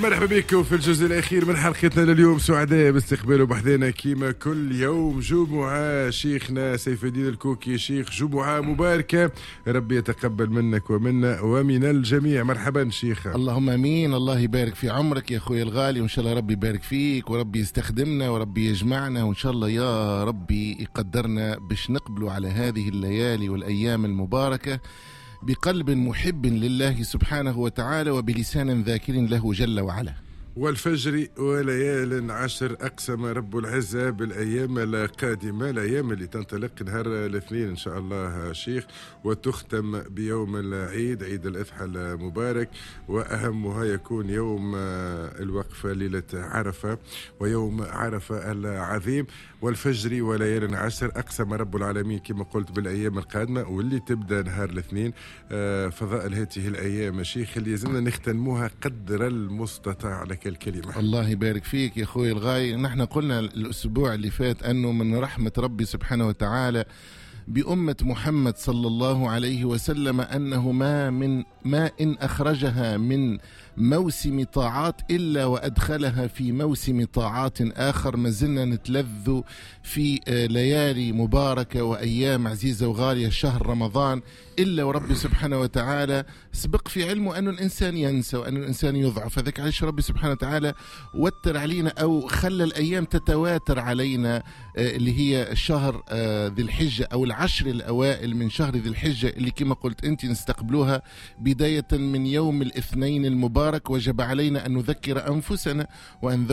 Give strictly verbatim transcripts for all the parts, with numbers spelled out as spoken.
مرحبا بكم في الجزء الأخير من حلقتنا لليوم. سعداء باستقباله بحذانا كيما كل يوم جمعة شيخنا سيف الدين الكوكي. شيخ، جمعة مباركة، ربي يتقبل منك ومنا ومن الجميع. مرحبا شيخ. اللهم امين. الله يبارك في عمرك يا اخوي الغالي، وان شاء الله ربي يبارك فيك وربي يستخدمنا وربي يجمعنا، وان شاء الله يا ربي يقدرنا باش نقبلوا على هذه الليالي والأيام المباركة بقلب محب لله سبحانه وتعالى وبلسان ذاكر له جل وعلا. والفجر وليال عشر، أقسم رب العزة بالأيام القادمة، الأيام اللي تنطلق نهار الاثنين إن شاء الله شيخ، وتختم بيوم العيد، عيد الأضحى المبارك، وأهمها يكون يوم الوقفة ليلة عرفة ويوم عرفة العظيم. والفجر وليال عشر، أقسم رب العالمين كما قلت بالأيام القادمة واللي تبدأ نهار الاثنين. فضائل هذه الأيام شيخ اللي يلزمنا نختنموها قدر المستطاع. لك الكلمة. الله يبارك فيك يا أخوي الغالي. نحن قلنا الأسبوع اللي فات أنه من رحمة ربي سبحانه وتعالى بأمة محمد صلى الله عليه وسلم أنه ما من ما إن أخرجها من موسم طاعات إلا وأدخلها في موسم طاعات آخر. ما زلنا نتلذ في ليالي مباركة وأيام عزيزة وغالية شهر رمضان، إلا وربي سبحانه وتعالى سبق في علمه أن الإنسان ينسى وأن الإنسان يضعف. هذاك علاش ربي سبحانه وتعالى وتر علينا أو خلى الأيام تتواتر علينا، اللي هي شهر ذي الحجة أو العشر الأوائل من شهر ذي الحجة، اللي كما قلت أنت نستقبلوها بداية من يوم الاثنين المبارك. وجب علينا أن نذكر أنفسنا وأن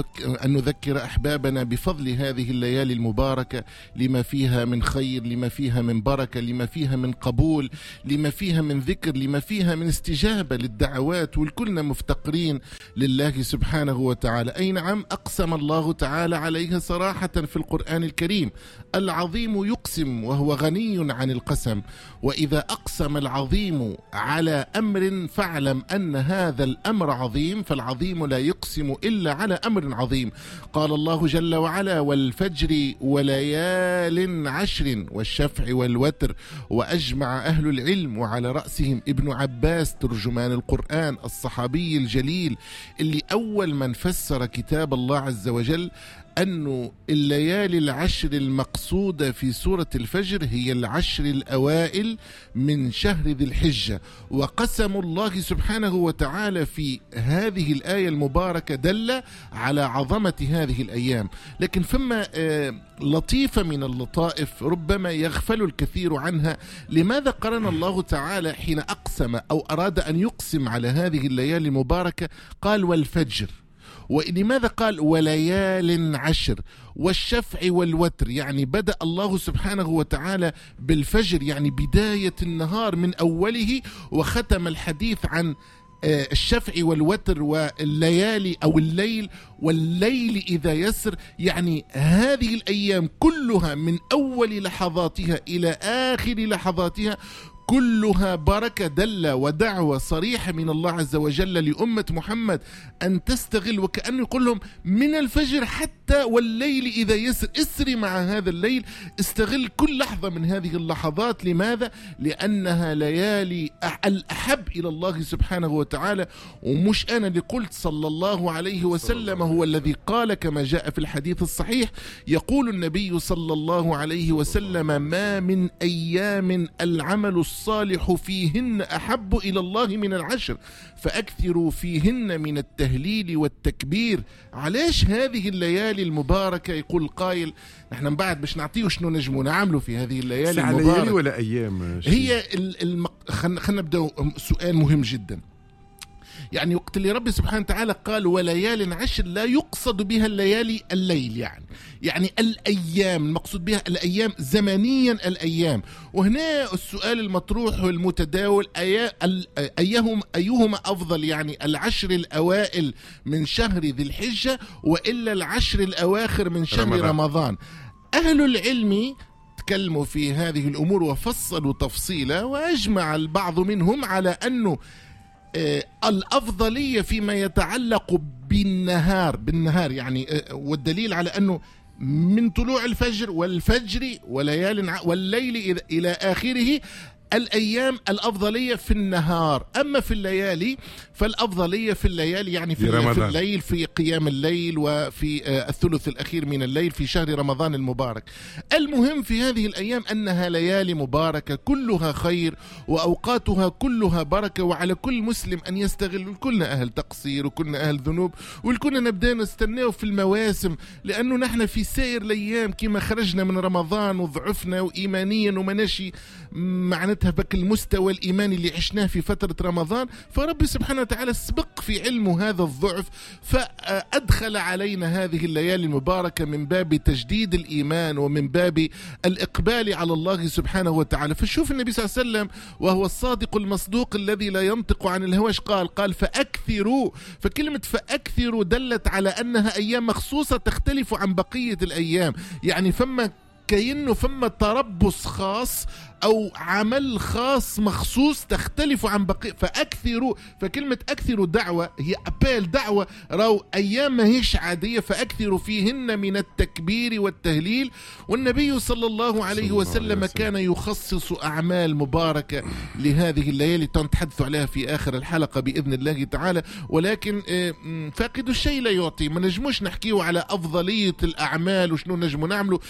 نذكر أحبابنا بفضل هذه الليالي المباركة، لما فيها من خير، لما فيها من بركة، لما فيها من قبول، لما فيها من ذكر، لما فيها من استجابة للدعوات، والكلنا مفتقرين لله سبحانه وتعالى. أي نعم، أقسم الله تعالى عليها صراحة في القرآن الكريم. العظيم يقسم وهو غني عن القسم، وإذا أقسم العظيم على أمر فاعلم أن هذا الأمر عظيم، فالعظيم لا يقسم إلا على أمر عظيم. قال الله جل وعلا: والفجر وليال عشر والشفع والوتر. وأجمع أهل العلم وعلى رأسهم ابن عباس ترجمان القرآن الصحابي الجليل اللي أول من فسر كتاب الله عز وجل، أن الليالي العشر المقصودة في سورة الفجر هي العشر الأوائل من شهر ذي الحجة. وقسم الله سبحانه وتعالى في هذه الآية المباركة دل على عظمة هذه الأيام. لكن ثم لطيفة من اللطائف ربما يغفل الكثير عنها. لماذا قرن الله تعالى حين أقسم أو أراد أن يقسم على هذه الليالي المباركة قال والفجر؟ ولماذا قال وليال عشر والشفع والوتر؟ يعني بدأ الله سبحانه وتعالى بالفجر، يعني بداية النهار من أوله، وختم الحديث عن الشفع والوتر والليالي أو الليل والليل إذا يسر. يعني هذه الأيام كلها من أول لحظاتها إلى آخر لحظاتها كلها بركة، دل ودعوة صريحة من الله عز وجل لأمة محمد أن تستغل، وكأنه يقول لهم من الفجر حتى والليل إذا يسر، اسري مع هذا الليل، استغل كل لحظة من هذه اللحظات. لماذا؟ لأنها ليالي الأحب إلى الله سبحانه وتعالى. ومش أنا اللي قلت، صلى الله عليه وسلم هو الذي قال كما جاء في الحديث الصحيح، يقول النبي صلى الله عليه وسلم: ما من أيام العمل الصالح فيهن أحب إلى الله من العشر، فأكثروا فيهن من التهليل والتكبير. علاش هذه الليالي المباركة؟ يقول قائل نحن من بعد باش نعطيه شنو نجمو نعملوا في هذه الليالي المباركة. ليالي ولا أيام؟ هي المق... خلينا نبدأ سؤال مهم جدا. يعني وقت اللي ربي سبحانه وتعالى قال وليال عشر، لا يقصد بها الليالي الليل، يعني يعني الأيام، المقصود بها الأيام زمنيا الأيام. وهنا السؤال المطروح والمتداول: أيهم أيهما أفضل، يعني العشر الأوائل من شهر ذي الحجة وإلا العشر الأواخر من شهر رمضان, رمضان؟ أهل العلم تكلموا في هذه الأمور وفصلوا تفصيلا، وأجمع البعض منهم على أنه الأفضلية فيما يتعلق بالنهار، بالنهار يعني، والدليل على أنه من طلوع الفجر والفجر وليال والليل إلى آخره الأيام الأفضلية في النهار، أما في الليالي فالأفضلية في الليالي يعني في, في الليل، في قيام الليل وفي الثلث الأخير من الليل في شهر رمضان المبارك. المهم في هذه الأيام أنها ليالي مباركة كلها خير وأوقاتها كلها بركة، وعلى كل مسلم أن يستغل. كلنا أهل تقصير وكلنا أهل ذنوب، والكلنا نبدأ نستناو في المواسم، لأنه نحن في سائر الأيام كما خرجنا من رمضان وضعفنا وإيمانيا ومناشي معناتها بك المستوى الإيماني اللي عشناه في فترة رمضان، فربي سبحانه وتعالى سبق في علمه هذا الضعف فأدخل علينا هذه الليالي المباركة من باب تجديد الإيمان ومن باب الإقبال على الله سبحانه وتعالى. فشوف النبي صلى الله عليه وسلم وهو الصادق المصدوق الذي لا ينطق عن الهوى قال قال فأكثروا. فكلمة فأكثروا دلت على أنها أيام مخصوصة تختلف عن بقية الأيام، يعني فما كأنه فما تربص خاص أو عمل خاص مخصوص تختلف عن بقية. فأكثروا، فكلمة أكثروا دعوة هي أبال دعوة، راو أيام ما هيش عادية، فأكثروا فيهن من التكبير والتهليل. والنبي صلى الله عليه وسلم كان يخصص أعمال مباركة لهذه الليالي تنتحدث عليها في آخر الحلقة بإذن الله تعالى. ولكن فاقد الشيء لا يعطي، ما نجموش نحكيه على أفضلية الأعمال وشنو نجمو نعمله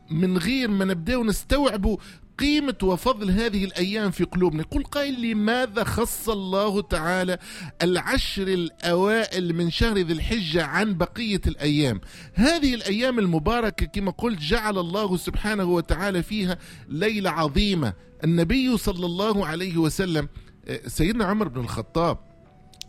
من غير ما نبدأ نستوعبوا قيمة وفضل هذه الأيام في قلوبنا. يقول قائل لماذا خص الله تعالى العشر الأوائل من شهر ذي الحجة عن بقية الأيام؟ هذه الأيام المباركة كما قلت جعل الله سبحانه وتعالى فيها ليلة عظيمة. النبي صلى الله عليه وسلم، سيدنا عمر بن الخطاب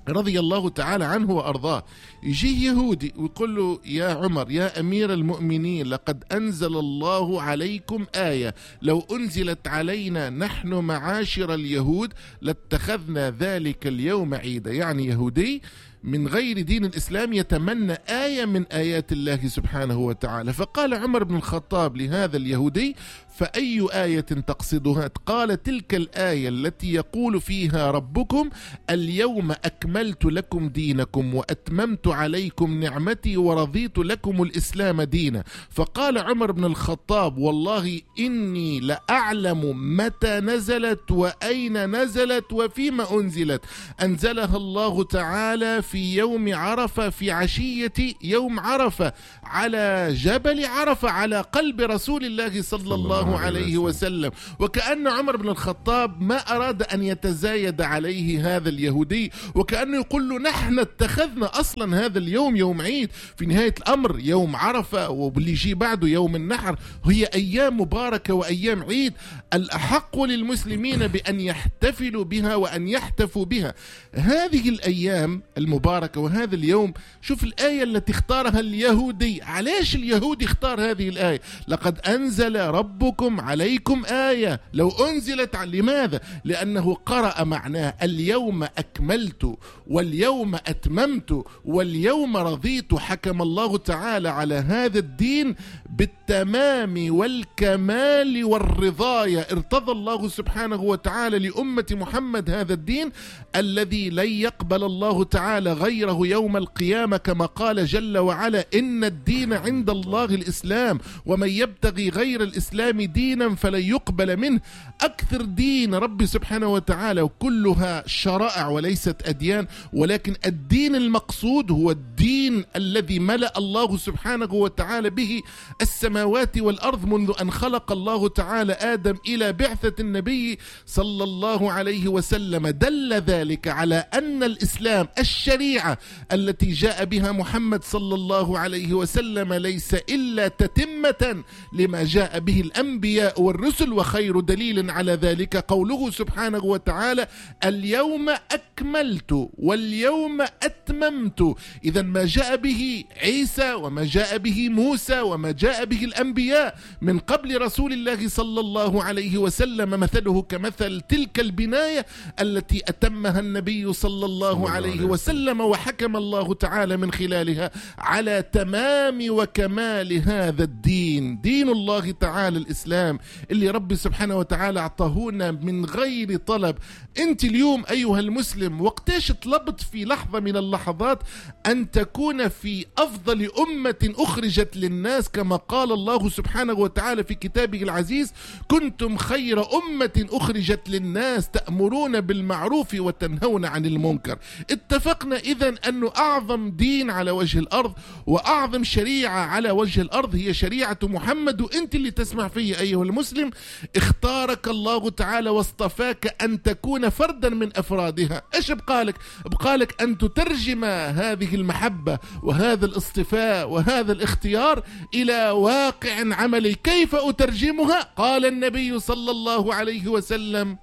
رضي الله تعالى عنه وأرضاه، يجيه يهودي ويقول له يا عمر يا أمير المؤمنين لقد أنزل الله عليكم آية لو أنزلت علينا نحن معاشر اليهود لاتخذنا ذلك اليوم عيدا. يعني يهودي من غير دين الإسلام يتمنى آية من آيات الله سبحانه وتعالى. فقال عمر بن الخطاب لهذا اليهودي فأي آية تقصدها؟ قال تلك الآية التي يقول فيها ربكم اليوم أكملت لكم دينكم وأتممت عليكم نعمتي ورضيت لكم الإسلام دينا. فقال عمر بن الخطاب والله إني لأعلم متى نزلت وأين نزلت وفيما أنزلت. أنزلها الله تعالى في يوم عرفة، في عشية يوم عرفة، على جبل عرفة، على قلب رسول الله صلى الله عليه وسلم. وكأن عمر بن الخطاب ما أراد أن يتزايد عليه هذا اليهودي، وكأنه يقول له نحن اتخذنا أصلا هذا اليوم يوم عيد، في نهاية الأمر يوم عرفة واللي يجي بعده يوم النحر، هي أيام مباركة وأيام عيد، الأحق للمسلمين بأن يحتفلوا بها وأن يحتفوا بها. هذه الأيام المباركة وهذا اليوم، شوف الآية التي اختارها اليهودي. علاش اليهودي اختار هذه الآية؟ لقد أنزل ربكم عليكم آية لو أنزلت. لماذا؟ لأنه قرأ معناه اليوم أكملت واليوم أتممت واليوم رضيت. حكم الله تعالى على هذا الدين بالتمام والكمال والرضاية. ارتضى الله سبحانه وتعالى لأمة محمد هذا الدين الذي لن يقبل الله تعالى غيره يوم القيامة، كما قال جل وعلا إن الدين عند الله الإسلام ومن يبتغي غير الإسلام دينا فلن يقبل منه. أكثر دين ربي سبحانه وتعالى وكلها شرائع وليست أديان، ولكن الدين المقصود هو الدين الذي ملأ الله سبحانه وتعالى به السماوات والأرض منذ أن خلق الله تعالى آدم إلى بعثة النبي صلى الله عليه وسلم. دل ذلك على أن الإسلام الشريعة التي جاء بها محمد صلى الله عليه وسلم ليس إلا تتمة لما جاء به الأنبياء والرسل، وخير دليل على ذلك قوله سبحانه وتعالى اليوم أكملت واليوم أتممت. إذا ما جاء به عيسى وما جاء به موسى وما جاء به الأنبياء من قبل رسول الله صلى الله عليه وسلم مثله كمثل تلك البناية التي أتمها النبي صلى الله عليه وسلم، وحكم الله تعالى من خلالها على تمام وكمال هذا الدين، دين الله تعالى الإسلام اللي ربي سبحانه وتعالى أعطاهونا من غير طلب. أنت اليوم أيها المسلم وقتاش طلبت في لحظة من اللحظات أن تكون في أفضل أمة أخرجت للناس كما قال الله سبحانه وتعالى في كتابه العزيز: كنتم خير أمة أخرجت للناس تأمرون بالمعروف وتنهون عن المنكر. اتفقنا إذن أنه أعظم دين على وجه الأرض وأعظم شريعة على وجه الأرض هي شريعة محمد. وأنت اللي تسمع فيه أيها المسلم، اختارك الله تعالى واصطفاك أن تكون فردا من أفرادها. إيش بقالك؟ بقالك أن تترجم هذه المحبة وهذا الاصطفاء وهذا الاختيار إلى واقع عملي. كيف أترجمها؟ قال النبي صلى الله عليه وسلم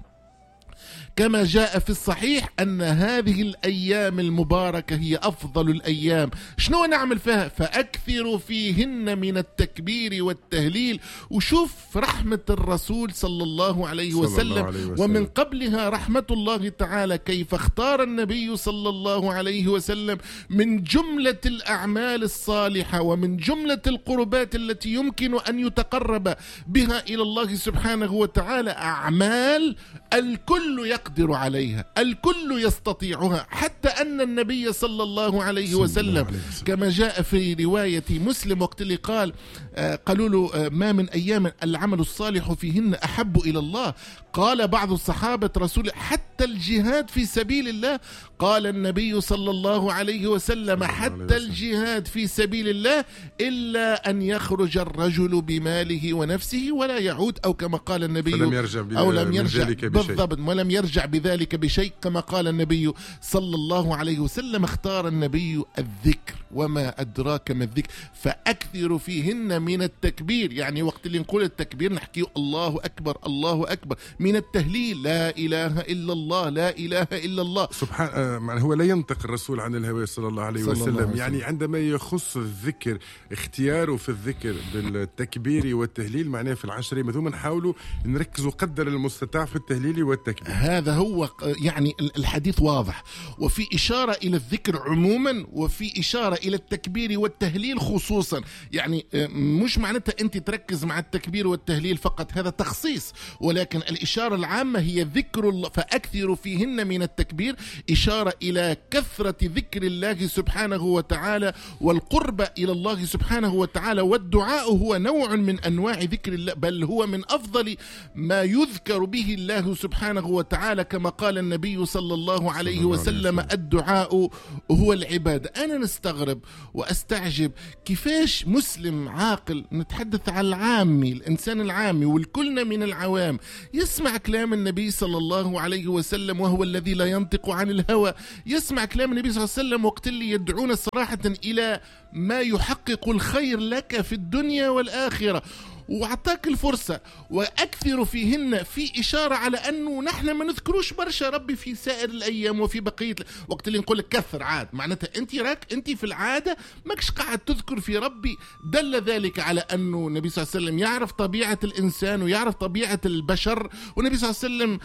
كما جاء في الصحيح أن هذه الأيام المباركة هي أفضل الأيام. شنو نعمل فيها؟ فأكثروا فيهن من التكبير والتهليل. وشوف رحمة الرسول صلى الله عليه وسلم, صلى الله عليه وسلم، ومن قبلها رحمة الله تعالى، كيف اختار النبي صلى الله عليه وسلم من جملة الأعمال الصالحة ومن جملة القربات التي يمكن أن يتقرب بها إلى الله سبحانه وتعالى أعمال الكل يقدر يقدر عليها، الكل يستطيعها. حتى أن النبي صلى الله عليه وسلم كما جاء في رواية مسلم وقت اللي قال آه قالوا له آه ما من أيام العمل الصالح فيهن أحب إلى الله، قال بعض الصحابة رسول حتى الجهاد في سبيل الله، قال النبي صلى الله عليه وسلم حتى الجهاد في سبيل الله إلا أن يخرج الرجل بماله ونفسه ولا يعود، أو كما قال النبي فلم يرجع أو لم يرجع بالضبط ولم يرجع بذلك بشيء كما قال النبي صلى الله عليه وسلم. اختار النبي الذكر، وما أدراك ما الذكر، فأكثر فيهن من التكبير. يعني وقت اللي نقول التكبير نحكي الله أكبر الله أكبر، من التهليل لا إله إلا الله لا إله إلا الله. سبحان، هو لا ينطق الرسول عن الهوى صلى الله عليه وسلم, الله عليه وسلم. يعني عندما يخص الذكر اختياره في الذكر بالتكبير والتهليل معناه في العشر مثلا نحاولوا نركزوا قدر المستطاع في التهليل والتكبير. هذا هو يعني الحديث واضح، وفي إشارة إلى الذكر عموما وفي إشارة إلى التكبير والتهليل خصوصا. يعني مش معناتها أنت تركز مع التكبير والتهليل فقط، هذا تخصيص، ولكن الإشارة العامة هي ذكر الله. فأكثر فيهن من التكبير إشارة إلى كثرة ذكر الله سبحانه وتعالى والقرب إلى الله سبحانه وتعالى. والدعاء هو نوع من أنواع ذكر الله، بل هو من أفضل ما يذكر به الله سبحانه وتعالى، كما قال النبي صلى الله عليه وسلم الدعاء هو العبادة. أنا نستغرب وأستعجب كيفاش مسلم عاقل، نتحدث عن العامي، الإنسان العامي والكلنا من العوام، يسمع كلام النبي صلى الله عليه وسلم وهو الذي لا ينطق عن الهوى، يسمع كلام النبي صلى الله عليه وسلم وقت اللي يدعون صراحة إلى ما يحقق الخير لك في الدنيا والآخرة، وأعطاك الفرصة. وأكثر فيهن في إشارة على أنه نحن ما نذكروش برشا ربي في سائر الأيام وفي بقية وقت اللي نقول لك كثر عاد، معناتها أنت راك أنت في العادة ماكش قاعد تذكر في ربي. دل ذلك على أنه النبي صلى الله عليه وسلم يعرف طبيعة الإنسان ويعرف طبيعة البشر، والنبي صلى الله عليه وسلم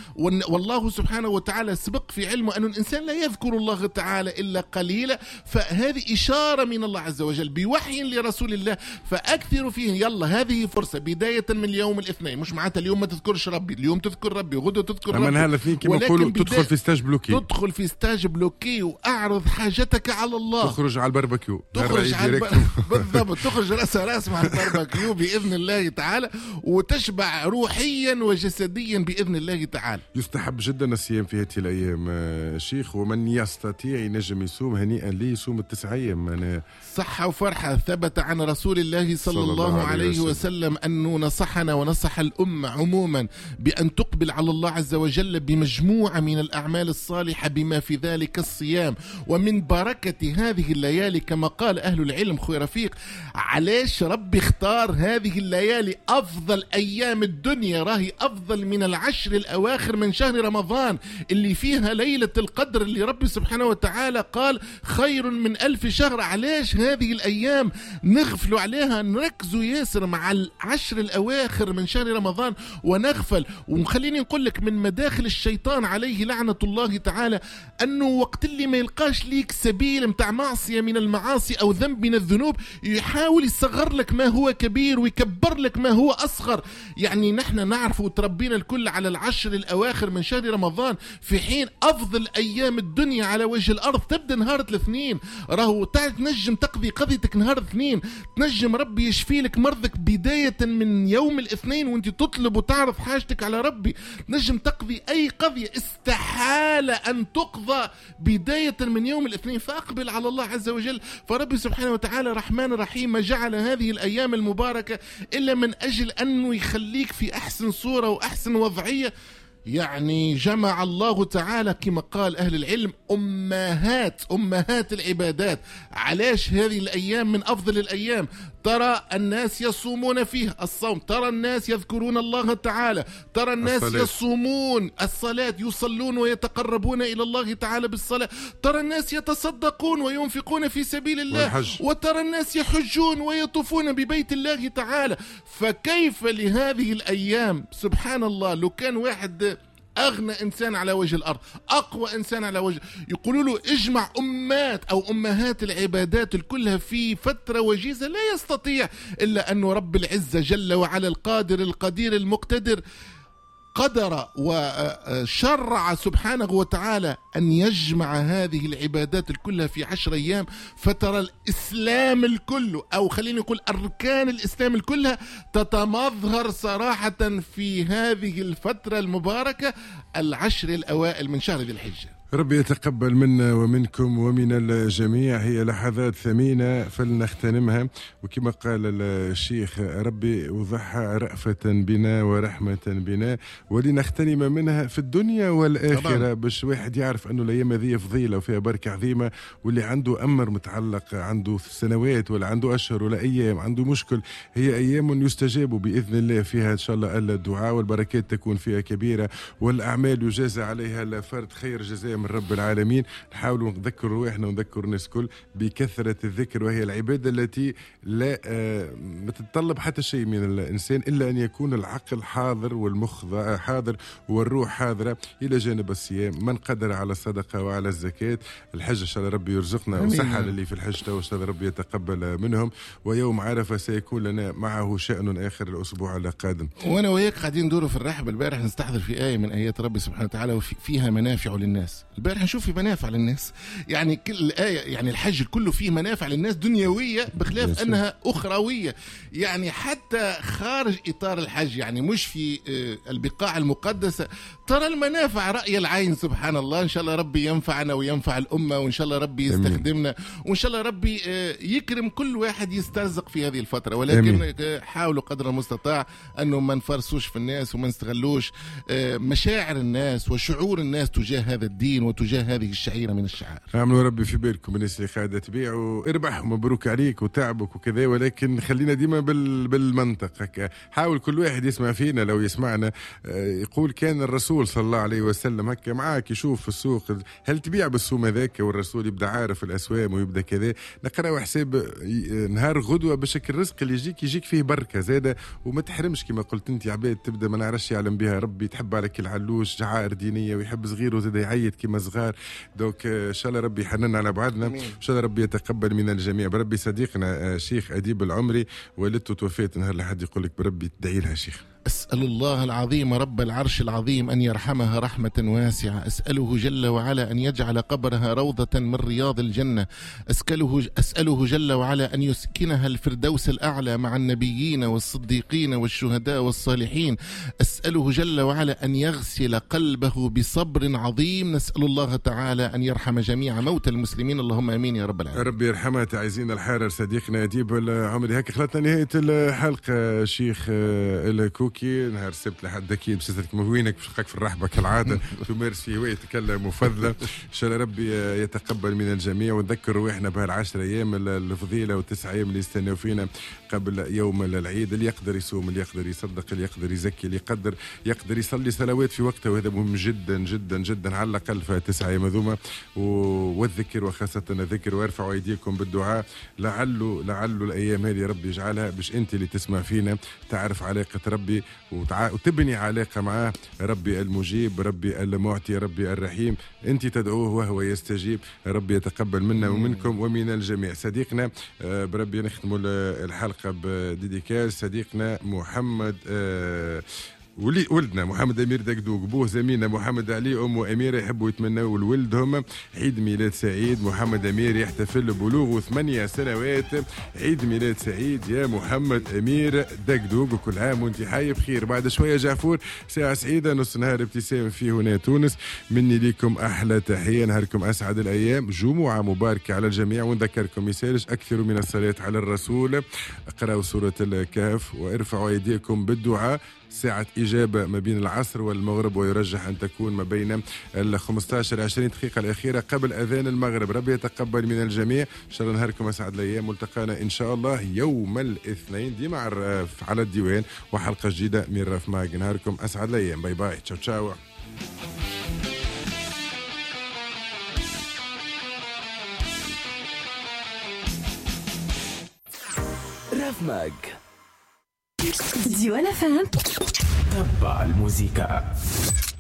والله سبحانه وتعالى سبق في علمه أن الإنسان لا يذكر الله تعالى إلا قليلا، فهذه إشارة من الله عز وجل بوحي لرسول الله فأكثر فيه. يلا هذه فرصة بداية من اليوم الاثنين، مش معناتها اليوم ما تذكرش ربي، اليوم تذكر ربي وغدا تذكر ربي. أما الاثنين كما نقولوا تدخل في stage bloqué، تدخل في stage bloqué وأعرض حاجتك على الله، تخرج على الباربيكيو، تخرج على الب... بالضبط، تخرج راس راس مع الباربيكيو بإذن الله تعالى، وتشبع روحيا وجسديا بإذن الله تعالى. يستحب جدا الصيام في هذه الأيام شيخ، ومن يستطيع ينجم يصوم هنيئا لي يصوم التسع أيام. أنا صحة وفرحة. ثبت عن رسول الله صلى, صلى الله, الله عليه وسلم, وسلم أنه نصحنا ونصح الأمة عموما بأن تقبل على الله عز وجل بمجموعة من الأعمال الصالحة بما في ذلك الصيام. ومن بركة هذه الليالي كما قال أهل العلم خوي رفيق، علاش ربي اختار هذه الليالي أفضل أيام الدنيا؟ راهي أفضل من العشر الأواخر من شهر رمضان اللي فيها ليلة القدر اللي ربي سبحانه وتعالى قال خير من ألف شهر. علاش هذه الأيام نغفلوا عليها؟ نركزوا ياسر مع العشر العشر الأواخر من شهر رمضان ونغفل. وخليني نقول لك من مداخل الشيطان عليه لعنة الله تعالى أنه وقت اللي ما يلقاش ليك سبيل متاع معصية من المعاصي أو ذنب من الذنوب يحاول يصغر لك ما هو كبير ويكبر لك ما هو أصغر. يعني نحن نعرف وتربينا الكل على العشر الأواخر من شهر رمضان، في حين أفضل أيام الدنيا على وجه الأرض تبدأ نهار الاثنين. راهو تنجم تقضي قضيتك نهار الاثنين، تنجم ربي يشفي لك مرضك بداية من يوم الاثنين وانت تطلب وتعرف حاجتك على ربي. تنجم تقضي أي قضية استحالة أن تقضى بداية من يوم الاثنين، فأقبل على الله عز وجل. فربي سبحانه وتعالى رحمن رحيم ما جعل هذه الأيام المباركة إلا من أجل أنه يخليك في أحسن صورة وأحسن وضعية. يعني جمع الله تعالى كما قال أهل العلم أمهات أمهات العبادات. علاش هذه الأيام من أفضل الأيام؟ ترى الناس يصومون فيه الصوم، ترى الناس يذكرون الله تعالى، ترى الناس الصلاة. يصومون الصلاة، يصلون ويتقربون إلى الله تعالى بالصلاة، ترى الناس يتصدقون وينفقون في سبيل الله، والحج. وترى الناس يحجون ويطوفون ببيت الله تعالى. فكيف لهذه الأيام؟ سبحان الله، لو كان واحد أغنى إنسان على وجه الأرض، أقوى إنسان على وجه، يقولوا له اجمع أمات أو أمهات العبادات كلها في فترة وجيزة، لا يستطيع، إلا أنه رب العزة جل وعلا القادر القدير المقتدر قدر وشرع سبحانه وتعالى أن يجمع هذه العبادات كلها في عشر أيام. فترى الإسلام الكل، أو خلينا نقول أركان الإسلام كلها تتمظهر صراحة في هذه الفترة المباركة، العشر الأوائل من شهر ذي الحجة. ربي يتقبل منا ومنكم ومن الجميع. هي لحظات ثمينة فلنغتنمها، وكما قال الشيخ ربي وضحى رأفة بنا ورحمة بنا ولنغتنم منها في الدنيا والآخرة، باش واحد يعرف أنه الأيام هذه فضيلة وفيها بركة عظيمة، واللي عنده أمر متعلق، عنده سنوات ولا عنده أشهر ولا أيام، عنده مشكل، هي أيام يستجاب بإذن الله فيها إن شاء الله الدعاء، والبركات تكون فيها كبيرة، والأعمال يجازى عليها الفرد خير جزاء من رب العالمين. نحاول نذكر رواحنا ونذكر الناس كل بكثرة الذكر، وهي العبادة التي لا ما تتطلب حتى شيء من الإنسان إلا أن يكون العقل حاضر والمخ حاضر والروح حاضرة. إلى جانب الصيام، من قدر على الصدقة وعلى الزكاة، الحج إن شاء الله ربي يرزقنا وصحة للي في الحج، وإن شاء الله ربي يتقبل منهم. ويوم عرفة سيكون لنا معه شأن آخر الأسبوع القادم. وأنا وياك قاعدين ندوروا في الرحب البارح نستحضر في آية من آيات ربي سبحانه وتعالى وفيها منافع للناس. البارح نشوف في منافع للناس، يعني كل آية، يعني الحج كله فيه منافع للناس دنيوية بخلاف أنها أخروية، يعني حتى خارج إطار الحج، يعني مش في البقاع المقدسة ترى المنافع رأي العين. سبحان الله، إن شاء الله ربي ينفعنا وينفع الأمة، وإن شاء الله ربي يستخدمنا، وإن شاء الله ربي يكرم كل واحد يسترزق في هذه الفترة. ولكن حاولوا قدر المستطاع أنه ما نفرسوش في الناس وما نستغلوش مشاعر الناس وشعور الناس تجاه هذا الدين وتجاه هذه الشعيرة من الشعائر. اعملوا ربي في بالكم الناس اللي قاعدة تبيع واربح ومبروك عليك وتعبك وكذا، ولكن خلينا ديما بال بالمنطق هكا. حاول كل واحد يسمع فينا لو يسمعنا يقول كان الرسول صلى الله عليه وسلم هكا معاك، يشوف في السوق هل تبيع بالسوم هذاك، والرسول يبدا عارف الاسوام ويبدا كذا. نقراو حساب نهار غدوه باش الرزق اللي يجيك يجيك فيه بركة زاده، وما تحرمش كما قلت انت عباد تبدا ما نعرفش يعلم بها ربي، تحب على كل علوش شعائر دينية ويحب صغيرة زاده يعيد كما صغار. donc ان شاء الله ربي يحنن على بعضنا، ان شاء الله ربي يتقبل من الجميع. بربي صديقنا شيخ أديب العمري والدته توفيت نهار لحد يقول لك بربي تدعي لها شيخ. أسأل الله العظيم رب العرش العظيم أن يرحمها رحمة واسعة، أسأله جل وعلا أن يجعل قبرها روضة من رياض الجنة، أسأله, أسأله جل وعلا أن يسكنها الفردوس الأعلى مع النبيين والصديقين والشهداء والصالحين، أسأله جل وعلا أن يغسل قلبه بصبر عظيم. نسأل الله تعالى أن يرحم جميع موتى المسلمين، اللهم أمين يا رب العالمين. ربي يرحمها. تعزينا الحارر صديقنا أديب العمري. هكا خلطنا نهاية الحلقة شيخ الكوكي. التبوكي. نهار السبت لحد اكيد باش نسالك وينك، باش نلقاك في الرحبه كالعادة تمارس في هوايتك المفضلة. ان شاء الله ربي يتقبل من الجميع، ونذكر رواحنا بهالعشر ايام الفضيلة والتسع ايام اللي يستناو فينا قبل يوم العيد. اللي يقدر يصوم، اللي يقدر يصدق، اللي يقدر يزكي، اللي يقدر يقدر يصلي صلوات في وقتها، وهذا مهم جدا جدا جدا على الاقل في تسع ايام هذوما. والذكر وخاصة الذكر، وارفعوا ايديكم بالدعاء لعله لعله الايام هذه ربي يجعلها باش انت اللي تسمع فينا تعرف علاقة ربي وتع... وتبني علاقة معاه. ربي المجيب، ربي المعطي، ربي الرحيم، انت تدعوه وهو يستجيب. ربي يتقبل منا ومنكم ومن الجميع. صديقنا بربي نختم الحلقة ب dédicace صديقنا محمد ولي ولدنا محمد امير دقدوق، بوه زميلنا محمد علي، امه اميره، يحبوا يتمنوا لولدهم عيد ميلاد سعيد. محمد امير يحتفل ببلوغه ثمانية سنوات. عيد ميلاد سعيد يا محمد امير دقدوق، وكل عام وانت حي بخير. بعد شوية جعفور ساعة سعيدة، نص نهار ابتسام في هنا تونس. مني لكم احلى تحية، نهاركم اسعد الايام، جمعه مباركة على الجميع. ونذكركم يسالش اكثروا من الصلاة على الرسول، اقرأوا سورة الكهف وارفعوا ايديكم بالدعاء. ساعة إجابة ما بين العصر والمغرب، ويرجح أن تكون ما بين ال خمسة عشر عشرين دقيقة الأخيرة قبل أذان المغرب. ربي يتقبل من الجميع، إن شاء الله نهاركم أسعد الأيام. ملتقانا إن شاء الله يوم الاثنين ديما على الديوان وحلقة جديدة من راف ماغ. نهاركم أسعد الأيام، bye bye، تشاو تشاو. راف ماغ ديوان فهم تبع الموسيقى.